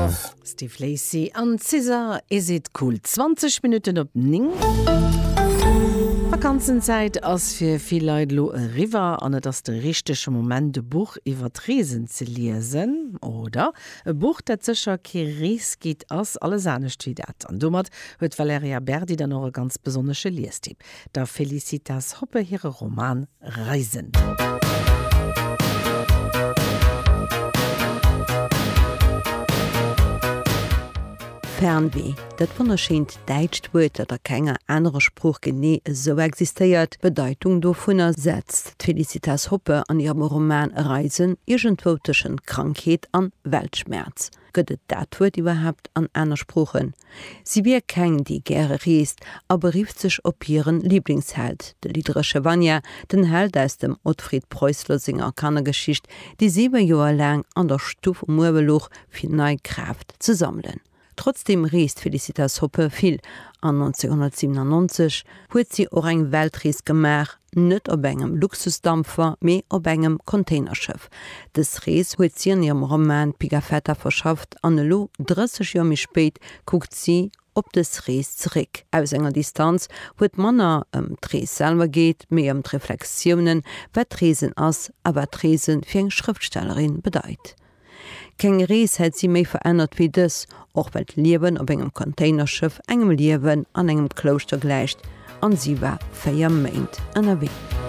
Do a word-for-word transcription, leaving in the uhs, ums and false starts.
love. Steve Lacy an SZA, Is It Cool? Zwanzeg Minutten op néng. D'Vakanzenzäit ass fir vill Leit elo eriwwer an et ass de richtege Moment e Buch iwwer d'Reesen ze liesen, oder? E Buch, dat sécher kee Reesguide ass, alles anescht wéi dat. An domat huet d'Valerija Berdi dann och e ganz besonnesche Liestipp, der Felicitas Hoppe hire Roman Reisen. Fernweh, dat wonnerschéint däitscht Wuert, dat a kenger anerer Sprooch genee esou existéiert, d'Bedeitung dovunner setzt d'Felicitas Hoppe an hirem Roman Reisen iergendwou tëschent Krankheet an Weltschmerz. Gëtt et dat Wuert iwwerhaapt an aner Sproochen? Si wier keng, déi gäre reest a berifft sech op hiren Liblingsheld, de lidderesche Vanya, den Held aus dem Otfried Preußler senger Kannergeschicht, dee siwe Joer laang an der Stuff um Uewe louch, fir nei Kraaft ze sammelen. Trotzdeem reest d'Felicitas Hoppe vill an nonzénhunnertsiwenannonzeg huet si och eng Weltrees gemaach, net op engem Luxusdampfer, mee op engem Containerschëff. Dës Rees huet si an hirem Roman Pigafetta verschafft an elo, drësseg Joer méi spéit, kuckt si op dës Rees zeréck aus enger Distanz, wou et manner ëm d'Rees selwer geet, mee ëm d'Reflexiounen, wat d'Reesen ass a wat d'Reese fir eng Schrëftstellerin bedeit. Keng Rees hätt si méi verännert wéi dës, och well d'Liewen op engem Containerschëff engem Liewen an engem Klouschter gläicht, an si war véier Méint ënnerwee.